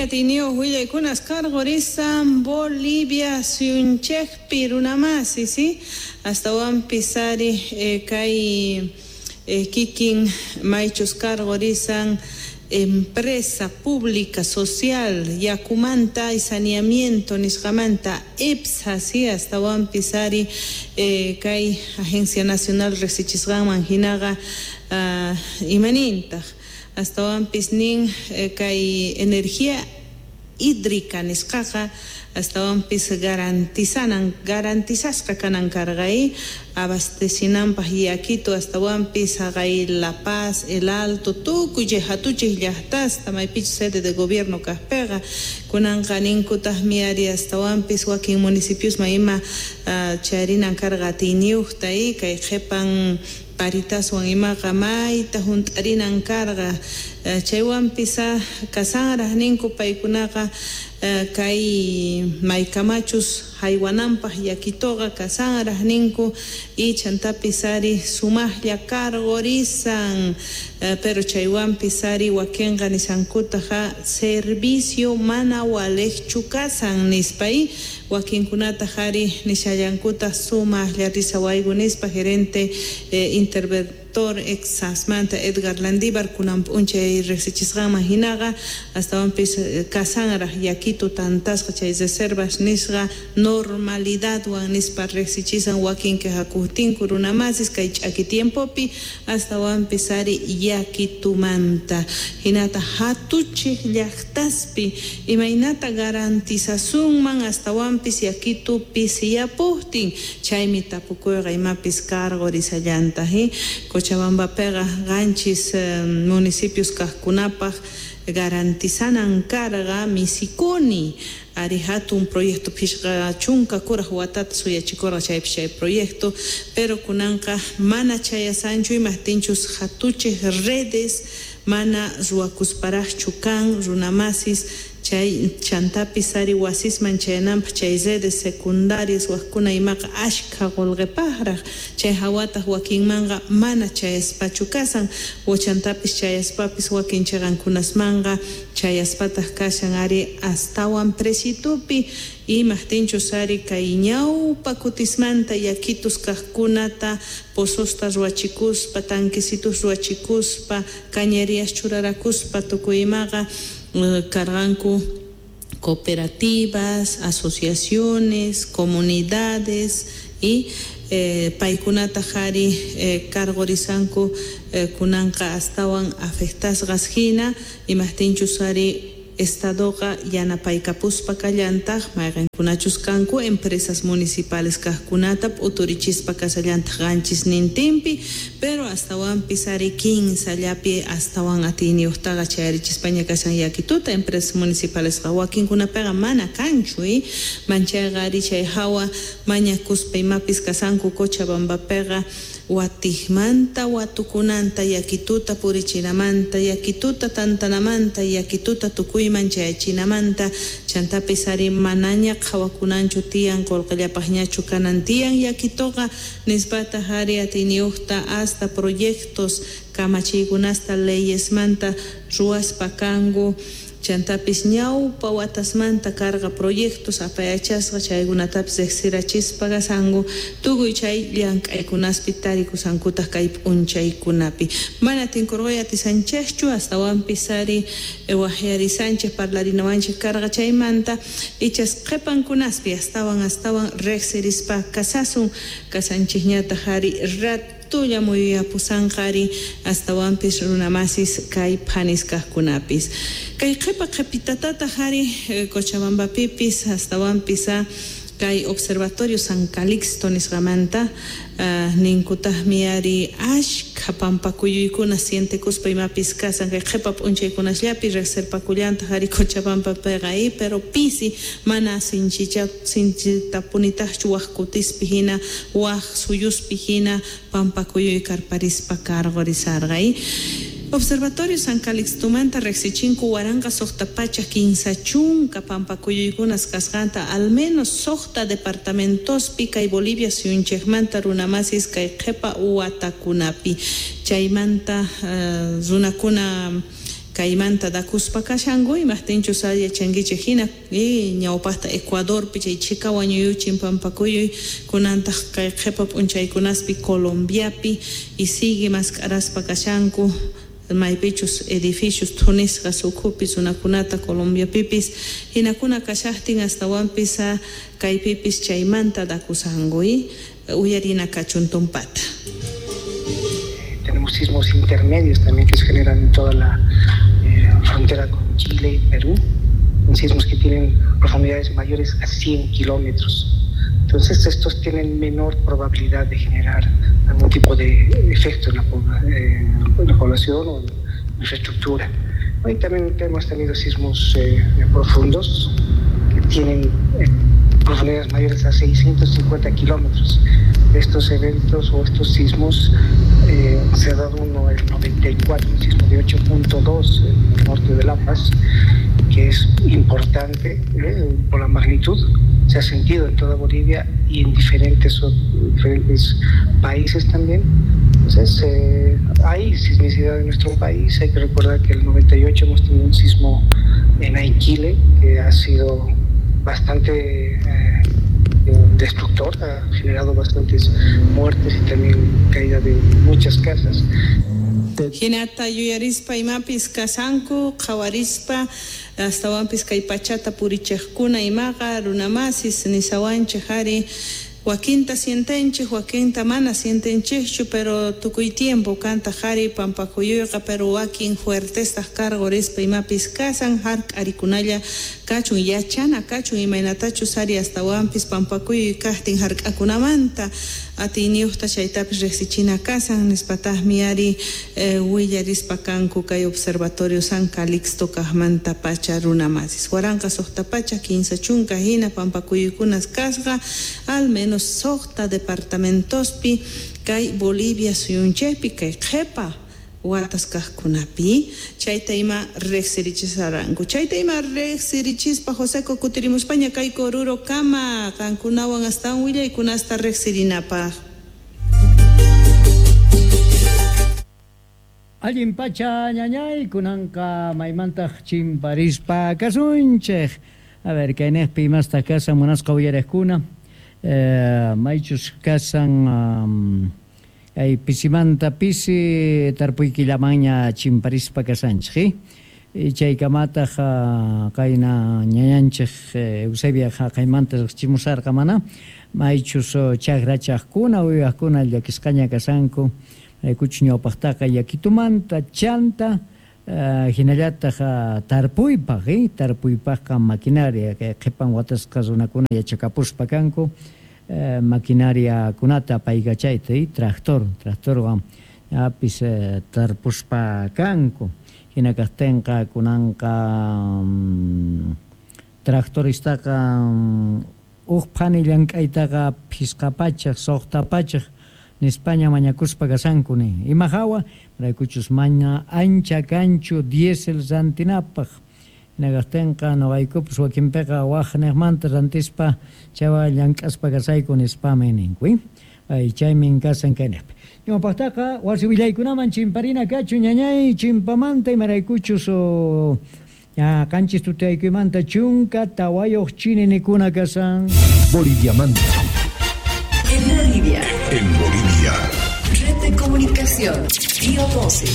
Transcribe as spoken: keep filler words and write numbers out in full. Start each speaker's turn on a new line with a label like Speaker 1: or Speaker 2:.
Speaker 1: Atiyniyuq willaykunas karqurisan Bolivia suyunchikpi runamasi, si astawanpis ari kay kikin maychus karqurisan empresa pública social yakumanta y saneamiento nisqamanta E P S A, si astawanpis ari kay Agencia Nacional riqsichisqanman hinaqa, imanintaq astawanpis nin kay energía hídrica nisqaqa astawanpis garantizanan garantizasqa kanan karqa abastecinanpaq yakitu astawanpis haqay La Paz, El Alto, tukuy chay hatuchiq llaqtasta maypichus sede de gobierno kaqpiqa. Kunanqa ninkutaqmi ari astawanpis wakin municipiosman ima chayarinan karqa atiyniyuqta kay qhipan paritaswan imaqa mayta hunt'arinan karqa. Chaywanpis kasanraq ninku paykunaqa kay maykamachus haywananpaq yakituqa kasanraq ninku y chantapis ari sumaqlla karqurisan, pero chaywanpis ari wakinqa nisankutaq servicio mana waliqchu kasan nispa y wakinkunataq ari nishallankutaq sumaqlla risawayku nispa. Gerente interventor E P S Amanta Edgar Landívar kunan p'unchay riqsichisqanman hinaqa astawanpis kasanraq yakitu tantasqa chay reservas nisqa normalidadwan nispa riqsichisan. Wakin quejakuqtinku runamasis kay ch'aki tiempopi astawanpis ari yakitumanta hinata hatuchiq llaqtaspi imaynata garantizasunman astawanpis yakitu pisiyapuqtin, chaymi tapukuyqa imapis karqurisallantaq. Cochabambapiqa qanchis municipios kaqkunapaq garantizanan karqa Misicuni ari hatun proyecto, phishqa chunka kuraq watata suyachikurqa chaypi chay proyecto, pero kunanqa mana chayasanchu imaqtinchus hatuchiq redes mana ruwakusparaqchu kan, runamasis. Chay chantapis ari wasisman chayananpaq chay redes secundarias waqkuna imaqa ashkha qullqipaqraq, chay hawataq wakinmanqa mana chayaspachu kasan, chantapis chayaspapis wakin chiqankunasmanqa chayaspataq kashan ari astawan precitupi, imaqtinchus ari kay ñawpa kutismanta yakitus kaqkunata pozosta ruwachikuspa, tanquecitos ruwachikuspa, cañerías churarakuspa, tukuy imaqa karqanku cooperativas, asociaciones, comunidades y paykunataq ari karqurisanku kunanqa astawan afectasqas hina, imaqtinchus ari estadoqa yanapaykapuspa kallantaq mayqinkunachus kanku empresas municipales kaqkunata p'uturichispa kasallantaq qanchisnintinpi, pero astawanpis ari kinsallapi astawan atiyniyuqtaqa chayarichispaña kashan yakituta empresas municipalesqa, wakinkunapiqa mana kanchu. Manchayqa ari chay hawa mañakuspa imapis kasanku Cochabambapiqa watiqmanta watukunanta yakituta purichinamanta, yakituta tantanamanta, yakituta tukuyman chayachinamanta. Chantapis ari manaña qhawakunanchu tiyan, qullqillapaqñachu kanan tiyan yakituqa nispataq ari atiyniyuqta hasta proyectos kamachiykunasta leyesmanta ruwaspa kanku. Chantapis ñawpa watasmanta karqa proyectos apayachasqa, chaykunatapis riqsirachispa kasanku. Tukuy chay llank'aykunaspi tarikusankutaq kay p'unchaykunapi mana tinkurquy atisanchikchu astawanpis ari waqyarisanchik parlarinawanchik karqa chaymanta. Ichas qhipankunaspi astawan astawan riqsirispa kasasun kasanchikñataq ari ratulla muyuyapusanqa ari astawanpis runamasis kay phanis kaqkunapis kay qhipa qhipitatataq ari Cochabambapipis astawanpis kay Observatorio San Calixto nisqamanta ninkutaqmi ari ashkha pampakuyuykuna sientekuspa imapis kasan kay qhipa p'unchaykunasllapi riqsirpakullantaq ari Cochabambapiqa, pero pisi, mana sinchicha sinchitapunitaqchu waq kutispi hina, waq suyuspi hina pampakuyuy karparispa karqurisarqa. Observatorio San Calixtomanta riqsichinku waranqa suqta pachak kinsa chunka pampakuyuykunas kasqanta al menos suqta departamentospi kay Bolivia suyunchikmanta, runamasis, kay qhipa watakunapi. Chaymanta runakuna kaymanta dakuspa kashanku imaqtinchus yachankichik hina ñawpaqta Ecuadorpi chay chika wañuyuchin pampakuyuy kunantaq kay qhipa p'unchaykunaspi Colombiapi y sigue mask'araspa kashanku maypichus edificios thunisqas ukhupi runakunata Colombiapipis hinakuna kashaqtin astawanpis kaypipis chaymanta dakusanku uyarina kachun tumpata.
Speaker 2: Tenemos sismos intermedios también que se generan en toda la eh, frontera con Chile y Perú, sismos que tienen profundidades mayores a cien kilómetros. Entonces estos tienen menor probabilidad de generar algún tipo de efecto en la, eh, en la población o en la infraestructura. Hoy también hemos tenido sismos eh, profundos que tienen eh, profundidades mayores a seiscientos cincuenta kilómetros. Estos eventos o estos sismos, eh, se ha dado uno el noventa y cuatro, un sismo de ocho punto dos en el norte de La Paz, que es importante eh, por la magnitud, se ha sentido en toda Bolivia y en diferentes, diferentes países también. Entonces, eh, hay sismicidad en nuestro país. Hay que recordar que en el noventa y ocho hemos tenido un sismo en Aiquile, que ha sido bastante eh, destructor, ha generado bastantes muertes y también caída de muchas casas.
Speaker 1: Hinata yuyarispa imapis kasanku qhawarispa astawanpis kay pachata purichiqkuna imaqa runamasis nisawanchik ari wakinta sientenchik wakinta mana sientenchikchu pero tukuy tiempo kanta qhari pampakuyuyqa pero wakin fuertestaq karqurispa imapis kasan hark'arikunalla kachun yachana kachun imaynatachus ari astawanpis pampakuyuy kaqtin hark'akunamanta atiyniyuqta chaytapis riqsichina kasan nispataqmi ari eh, willarispa kanku kay observatorio San Calixto kaqmanta pacha runamasis waranqa suqta pacha kinsa chunka hina pampakuyuykunas kasqa al menos suqta departamentospi kay Bolivia suyunchikpi kay qhipa watas kaqkunapi chayta ima riqsirichisaranku chayta ima riqsirichispa Joseco kutirimuspaña kay Oruro kama qankunawan astawan willaykunasta riqsirinapaq.
Speaker 3: Allin pacha ñañay kunanqa maymantaq chimparispa kasunchik. A ver, kaynejpi imastaq kasan munasqa uyariqkuna eh, maychus kasan um, ay pisimanta pisi tarpuykillamanña chimparispa kasanchik eh? Chaykamataq qayna ñañanchik Eusebia haqaymanta riqchimusarqa mana maychus chakrachaqkuna uywaqkuna llakisqaña kasanku raykuchus ñawpaqtaqa yakitumanta chanta Uh, hinallataq uh, tarpuypaq eh? Tarpuypaqqa maquinaria kay qhipan watasqa runakuna yachakapuspa kanku uh, maquinariakunata apaykachayta eh? Tractor tractorwan apis uh, tarpuspa kanku hina kaqtinqa kunanqa um, tractoristaqa um, huk phani llank'aytaqa phisqa pachaq suqta pachaq nispaña mañakuspa kasanku nin ima hawa raykuchus maña ancha kanchu diésel rantinapaq hinaqtinqa nuqaykupas wakinpiqa waq niqmanta rantispa chawa llank'aspa kasayku nispami ninku ay chaymin kasan kaynaqpi ñawpaqtaqa wasi willaykunaman chimparina kachu ñañay chimpamanta imaraykuchus ña qanchis tutaykuymanta chunka tawayuq chininikuna kasan
Speaker 4: Boliviamanta.
Speaker 5: En Bolivia.
Speaker 4: En Bolivia.
Speaker 5: Red de Comunicación. Río doce.